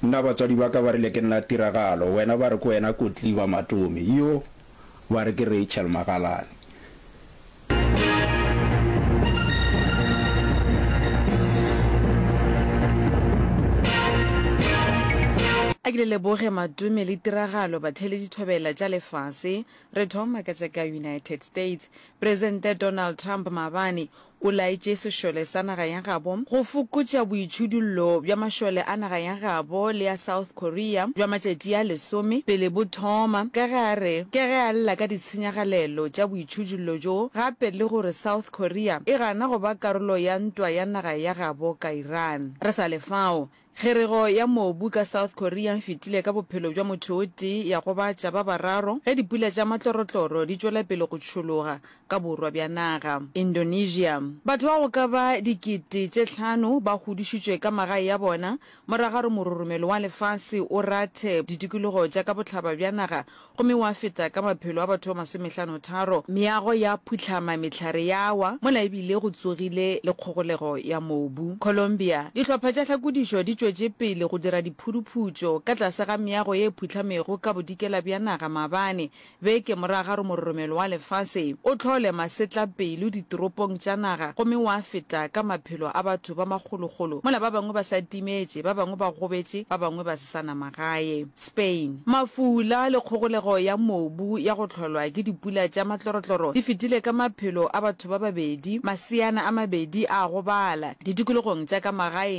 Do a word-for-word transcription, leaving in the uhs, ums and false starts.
Nna batswadi ba ka ba rile ke nna Tiragalo, wena ba re ke wena Kotliba Matome, yo ba re ke Rachel Magalane. A ke le leboge Matome le Tiragalo batheeletši thobela tša lefase. Re thoma ka tša ka United States. Presidente Donald Trump maabane o laetše sešole sa naga ya gabo go fokotša boitšhudullo bja mašole a naga ya gabo le ya South Korea bja matšatši a lesome pele bo thoma ka ge a re ke ge a lla ka ditshenyagalelo tša boitšhudullo bjo gape le gore South Korea e gana go ba karolo ya ntwa ya naga ya gabo ka Iran. Re sa le fao, Kgerego ya mobu ka South Korea e fetile ka bophelo bja motho o tee ya gobatša ba bararo ge dipula tša matlorotloro di tšwela pele go tšhologa ka borwa bja naga. Indonesia, Batho ba go ka ba dikete tše hlano ba hudušitšwe ka magae a bona morago ga gore mororomelo wa lefase o rathe ditikologo tša ka bohlaba bja naga gomme wa feta ka maphelo a batho ba masomehlano-tharo, meago ya phuhlama, mehlare ya wa, mola e bile go tsogile le kgogolego ya mobu. Colombia, Dihlopha tša hlakodišo di tšwetše pele go dira diphuduphutšo ka tlase ga meago ye e phuhlamego ka bodikela bja naga maabane, beke morago ga gore mororomelo wa lefase o hlole masetlapelo ditoropong tša naga gomme wa feta ka maphelo a batho ba makgolokgolo, mola ba bangwe ba sa timetše, ba bangwe ba gobetše, ba bangwe ba se sa na magae. Spain, Mafula le kgogolego ya mobu ya go hlolwa ke dipula tša matlorotloro di fetile ka maphelo a batho ba babedi, maseana a mabedi a gobala, ditikologong tša ka magaeng